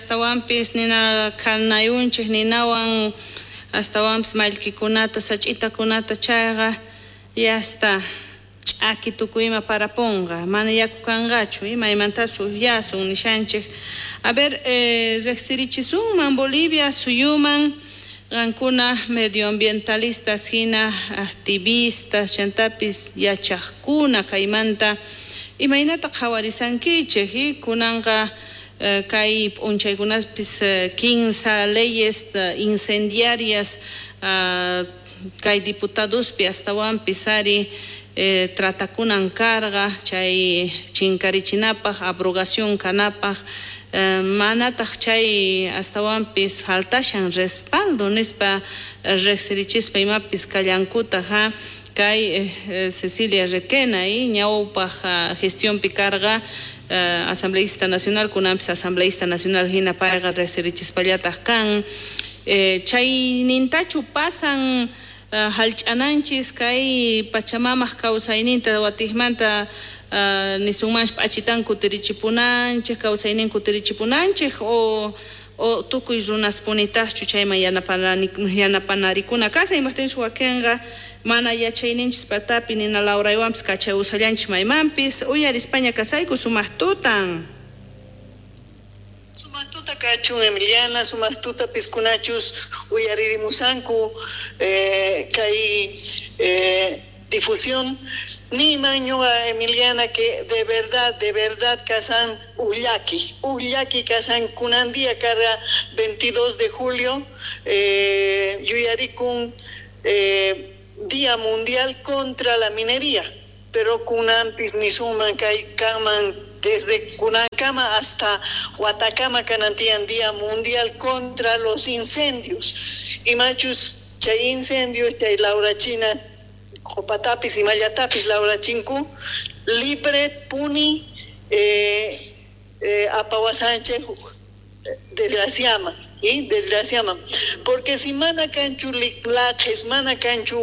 Astawanpis nina khanayunchej ninawan astawanpis mallkikunata sach'itakunata chayqa yasta ch'aki tukuyma parapunqa mana yaku kanqachu imaymantachu ujyasun nishanchej. A ver, riqsirichisunman Bolivia suyuman qankuna medioambientalistas hina activistas chantapis yachaqkuna kaymanta imaynata qhawarisankichej kunanqa kay p'unchaykunaspis 15 leyes incendiarias kay diputadospi astawanpis ari tratakunan karqa chay chinkarichinapaj abrogación kanapaj manataq chay astawanpis faltashan respaldo nispa riqsirichispa imapis kallankutaj ha kay Cecilia Requena ñawpaj gestionpi karqa asambleísta nacional kunanpis asambleísta nacional hina payqa riqsirichispallataq kan chaynintachu pasan hallch'ananchis kay Pachamamaj kawsayninta watiqmanta nisunmanchu p'achitan kutirichipunanchej kawsaynin kutirichipunanchej o tukuy runaspunitaqchu chayman yanapanarikuna kashan imajtinchus wakinqa mana yachayninchis patapi nina lawraywanpis kachawusallanchis maymanpis uyarispaña kasayku sumaq tutan. Sumaq tuta kachun Emiliana, sumaq tuta piskunachus uyaririmusanku kay difusión nima ñuqa Emiliana que de verdad kasan ullaki kasan kunan día karqa 22 de julio yuyarikun Día Mundial contra la Minería, pero kunanpis nisuman kay kanman desde Kunankama hasta Huatacama kanantian Día Mundial contra los Incendios. Y machus chay incendios, chay laurachina, qopatapis y mayatapis laurachinku, libre puni apawasanche desgraciama, ¿sí? Desgraciama. Porque si mana kanchu liklajes, mana kanchu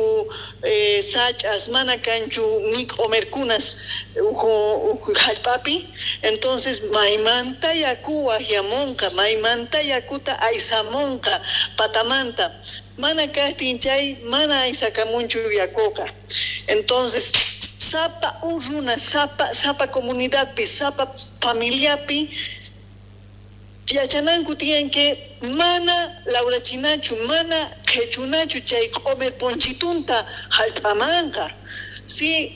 sachas, mana kanchu micomercunas jallpapi, entonces maymanta yaku wajyamunqa, maymanta yakuta aysamunqa, patamanta. Mana kajtin chay, mana aysakamunchu yakuqa. Entonces, sapa urruna, sapa comunidadpi, sapa familiapi, yachananku tiyan que mana laurachinachu, mana qhechunachu chay q'omer ponchitunta jallp'amanqa. Si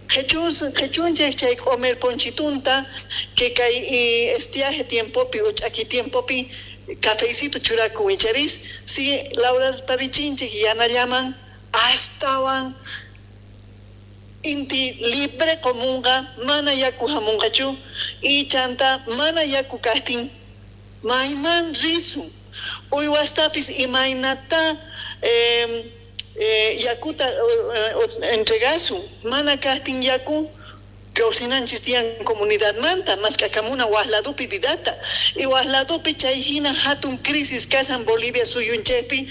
qhechunchej chay q'omer ponchitunta que kay estiaje tiempopi o ch'aki tiempopi cafecito churakun icharis, si laurarparichinchej yanallaman astawan inti libre komunqa mana yaku hamunqachu y chanta mana yaku kajtin mayman risun uywastapis imaynata yakuta entregasun mana kajtin yaku kawsinanchis tiyan comunidadmanta maskakamuna wajladupi vidata y wajladupi chay hina hatun crisis kasan Bolivia suyunchejpi.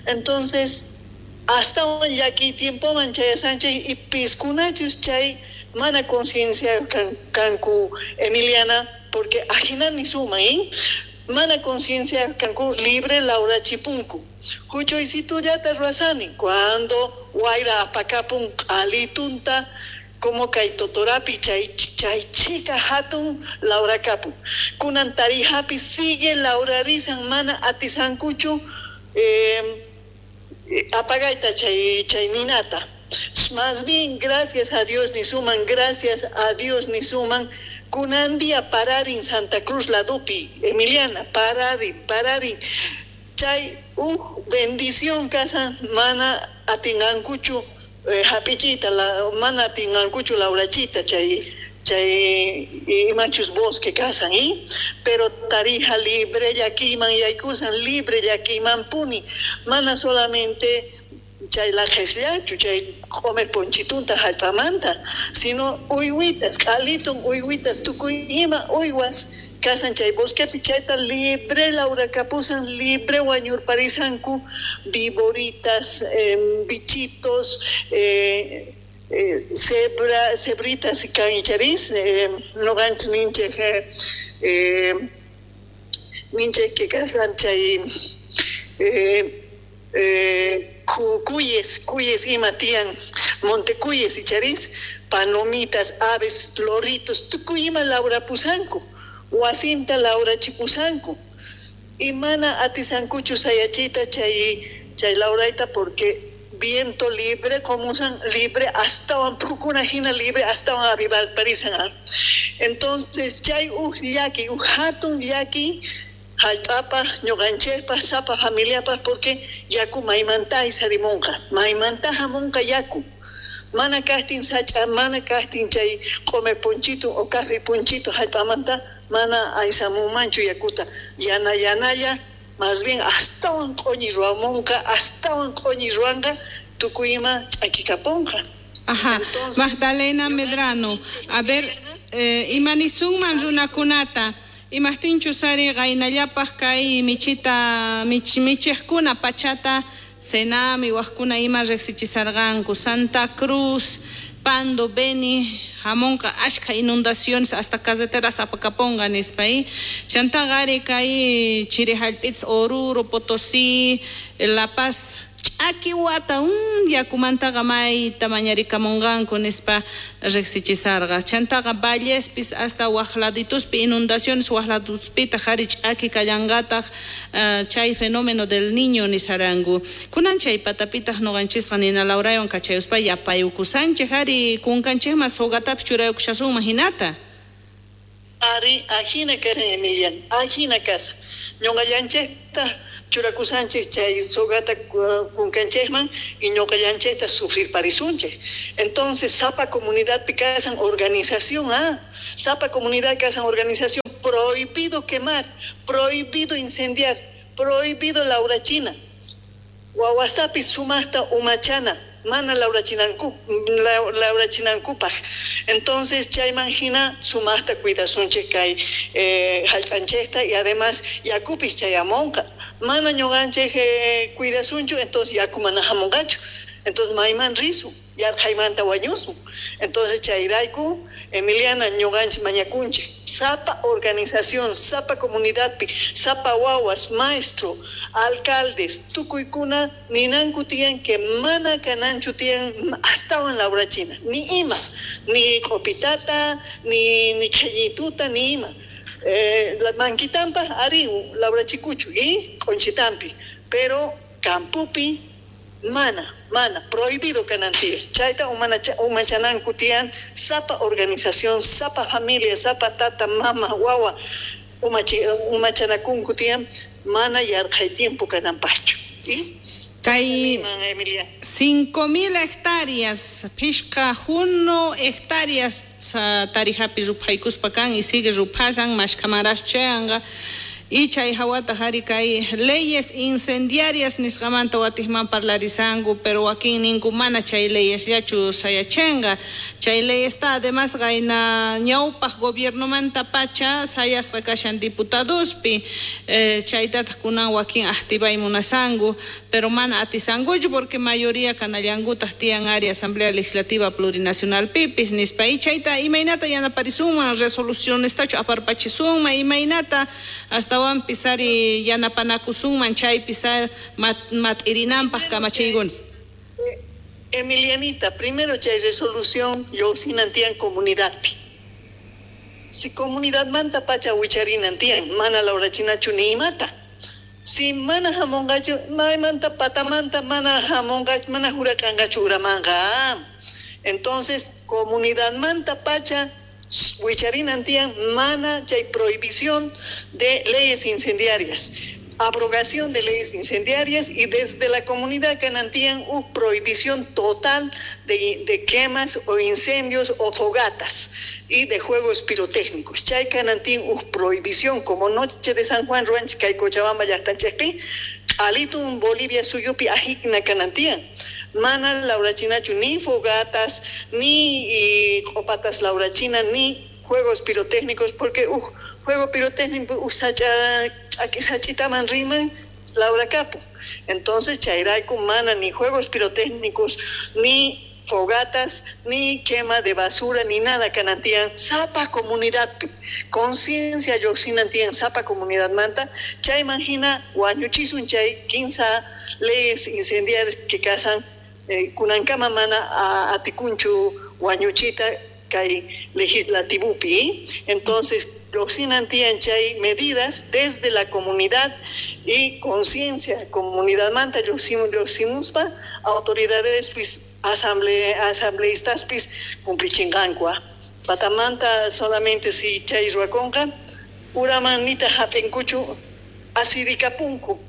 Entonces hasta llaki tiempoman chayasanchej y piskunachus chay mana conciencia kanku Emiliana, porque ajinani suma, ¿eh? Mana conciencia kanku libre laura chipunku. Huchuycitullata ruasani cuando wayra apakapun q'alitunta como kay totorapi chay chica hatun laura kapun. Kunan tarijapi sigue laura rizan mana atisankuchu apagaita chay ninata. Más bien, gracias a Dios ni suman, gracias a Dios ni suman. Kunan día pararin Santa Cruz la dupi, Emiliana, pararin. Chay, bendición casa, mana atingankuchu hapichita, la, mana atingankuchu laurachita, chay imachus bosque casan, ¿eh? Pero tarija libre yakiman yaykusan, libre yakiman puni, mana solamente chay la jesllachu, chay comer ponchitunta jallpamanta, sino uywitas, q'alitun uywitas, tukuy ima uywas kasan chay bosquepi chayta libre laura kapusan, libre wañurparisanku, viboritas, bichitos, cebra, cebritas y canicharis, no ninche Ninchej que kasan chay cuyes, cuyes ima tiyan, montecuyes icharis, palomitas, aves, loritos, tukuy ima laurapusanku, wasinta laurachipusanku. Y mana atisankuchu sayachita chay chay lauraita porque viento libre, como usan libre, hasta pukuna hina libre, hasta avivar parisan. Entonces, chay uj llaki, uj hatun llaki, jallp'apa, ñuqanchikpa, sapa familiapa, porque yaku maymanta isarimunqa, maymanta hamunqa yaku. Mana kaqtin sach'a, mana kaqtin chay q'umir punchitu o café punchitu jallp'amanta, mana aysamunmanchu yakuta. Yana yanalla, más bien astawan q'uñi ruwamunqa, astawan q'uñi ruwanqa, tukuy ima ch'akikapunqa. Ajá. Entonces, Magdalena Medrano, a ver, imanisunman runakunata, imajtinchus ari qaynallapaj kay michita, michejkuna pachata, Senami, wajkuna ima riqsichisarqanku, Santa Cruz, Pando, Beni, hamunqa ashkha inundaciones hasta carreteras apakaponqa nispa, Chantaqa ari kay chiri hallp'itas Oruro, Potosí, La Paz, ch'aki wata, yakumantaqa mayta mañarikamunqanku nispa riqsichisarqa. Chantaqa Vallespis hasta waj ladituspi inundaciones waj laduspitaq ari ch'aki kallanqataq, chay fenómeno del niño nisaranku. Kunan chay patapitaq ñuqanchisqa nina Laurawan kachayuspa yapayukusanchik ari kunkanchikman sogatapis churayukushasunman hinata. Ari, ajina kasa, Emiliana, ajina kasa. Ñuqallanchikta churakusanchik chay sogata kunkanchikman y ñuqallanchikta sufrir parisunchik. Entonces, sapa comunidad kasan organización, sapa comunidad kasan organización, prohibido quemar, prohibido incendiar, prohibido laurachina. Wawastapis sumaqta umachana, mana laurachinankupaj. Entonces, chayman hina sumaqta cuidasunchik kay jallp'anchikta y además yakupis chayamunqa. Mana ñuqanchik cuidasunchu, entonces yaku mana hamunqachu. Entonces, mayman risun, yarqhaymanta wañusun. Entonces, chayrayku, Emiliana, ñuqanchik mañakunchik. Sapa organización, sapa comunidadpi, sapa wawas, maestro, alcaldes, tukuykuna ninanku tiyan que mana kananchu tiyan astawan laurachina, ni ima, ni q'upitata, ni qhillituta, ni ima. La mankitampa ari laurachikuchu y q'unchitampi, pero campupi mana, mana, prohibido kanantiya. Chayta umachananku tiyan sapa organización, sapa familia, sapa tata, mama, wawa, umachanakunku tiyan, mana yarqhay tiempo kananpaqchu. ¿Sí? Kay Animan, Emilia. 5.000 hectáreas, phishqa juno hectáreas tarijapi ruphaykuspa kan y sigue ruphasan, mashkhamaraj chayanqa. Y chay hawata ari kay leyes incendiarias nisqamanta watijman parlarisanku, pero wakin ninku mana chay leyesllachu sayachenqa. Chay leyesta además qayna ñawpaq gobiernomanta pacha sayasqa kashan diputadospi, chaytataq kunan wakin activay munasanku, pero mana atisankuchu porque mayoría kanallankutaq tiyan ari Asamblea Legislativa Plurinacional pipis nispa. Y chayta imaynata yanaparisunman, resolucionestachu aparpachisunman, imaynata hasta wampis ari yanapanakusunman chaypis mat'irinanpaq kamachiykunas. Emilianita, primero chay resolución lluqsinantiyan comunidadpi. Si comunidad manta pacha wicharinantiyan, mana laurachinachu ni imata. Si mana hamunqachu, maymanta patamanta mana hamunqachu, mana hurakanqachu uramanqa. Entonces, comunidad manta pacha wicharinantiyan mana chay prohibición de leyes incendiarias, abrogación de leyes incendiarias y desde la comunidad kanantiyan una prohibición total de quemas o incendios o fogatas y de juegos pirotécnicos. Chay kanantiyan una prohibición como noche de San Juan ruanchik kay Cochabamba llaqtanchikpi, alitun Bolivia suyupi ajikna kanantiyan. Mana laurachinachu ni fogatas, ni copatas laurachina, ni juegos pirotécnicos, porque juego pirotécnico sachitaman riman Laura Capo. Entonces, chayrayku mana ni juegos pirotécnicos, ni fogatas, ni quema de basura, ni nada kanantian, sapa comunidad, conciencia lluqsinantian sapa comunidad manta, chayman hina wañuchisun chay 15 leyes incendiarias que kasan kunankama mana atikunchu wañuchita kay legislativupi. Entonces lluqsinantian chay medidas desde la comunidad y conciencia comunidad manta lluqsimuspa autoridades pis asambleístas pis cumplichinqanku. Patamanta solamente si chay ruwakunqa uraman nita hap'inkuchu asirikapunku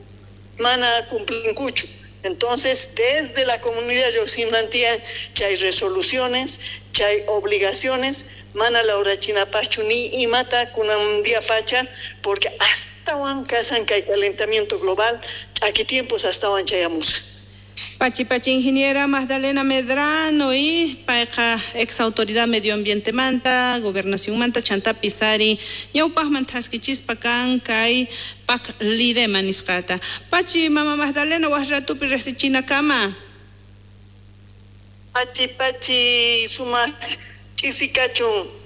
mana cumplinkuchu. Entonces desde la comunidad lluqsinantian chay resoluciones, chay obligaciones, mana lawrachinapachu ni imata kunan día pacha, porque hasta wan kasan kay calentamiento global, aquí tiempos hasta wan chayamusa. Pachi pachi ingeniera Magdalena Medrano y payqa ex autoridad medioambiente manta, gobernación manta, chantapi sari, ñawpaqman thaskichispa kan kay pak lidema nisqata. Pachi mama Magdalena waj ratupi riqsichinakama. Pachi pachi sumaq ch'isikachun.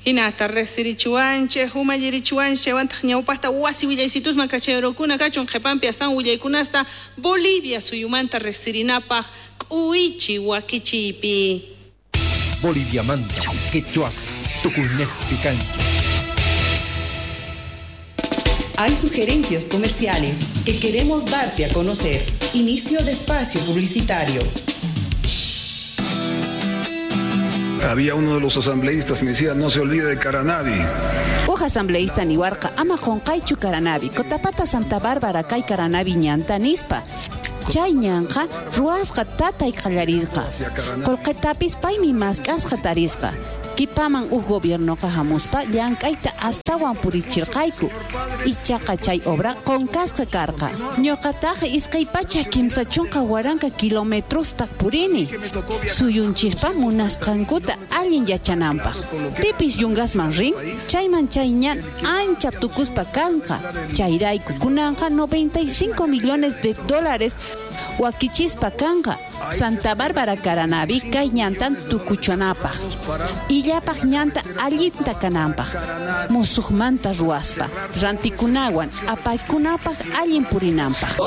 Hinata riqsirichiwanchej, umallirichiwanchej, chaywantaq ñawpaqta wasi willaysitusman kachayrukuna kachun qhipanpi astawan willaykunasta Bolivia suyumanta riqsirinapaq k'uwichi wakichiypi. Bolivia manta, quechua, tukuynejpi kanchik. Hay sugerencias comerciales que queremos darte a conocer. Inicio de espacio publicitario. Había uno de los asambleístas que me decía, no se olvide de Caranavi. Uj asambleísta niwarqa ama qunqaychu Caranavi, Cotapata Santa Bárbara kay Caranavi ñanta nispa. Chay ñanqa ruwasqa tatay qallarisqa. Qullqitapis paymi mask'asqa tarisqa. Kipaman uj gobiernoqa hamuspa llank'ayta astawan purichirqayku. Ichaqa chay obra qunqasqa karqa. Ñuqataq 230,000 kilometrosta purini. Suyunchikpa munasqankuta allin yachananpaq. Pipis yungasman rin, chayman chay ñan ancha tukuspa kanqa. Chayrayku kunanqa 95 millones de dólares wakichispa kanqa. Santa Bárbara Caranavi kay ñantan tukuchanapaq. Illapaq ñanta allinta kananpaq. Musuqmanta ruwaspa, rantikunawan apaykunapaq allin purinanpaq.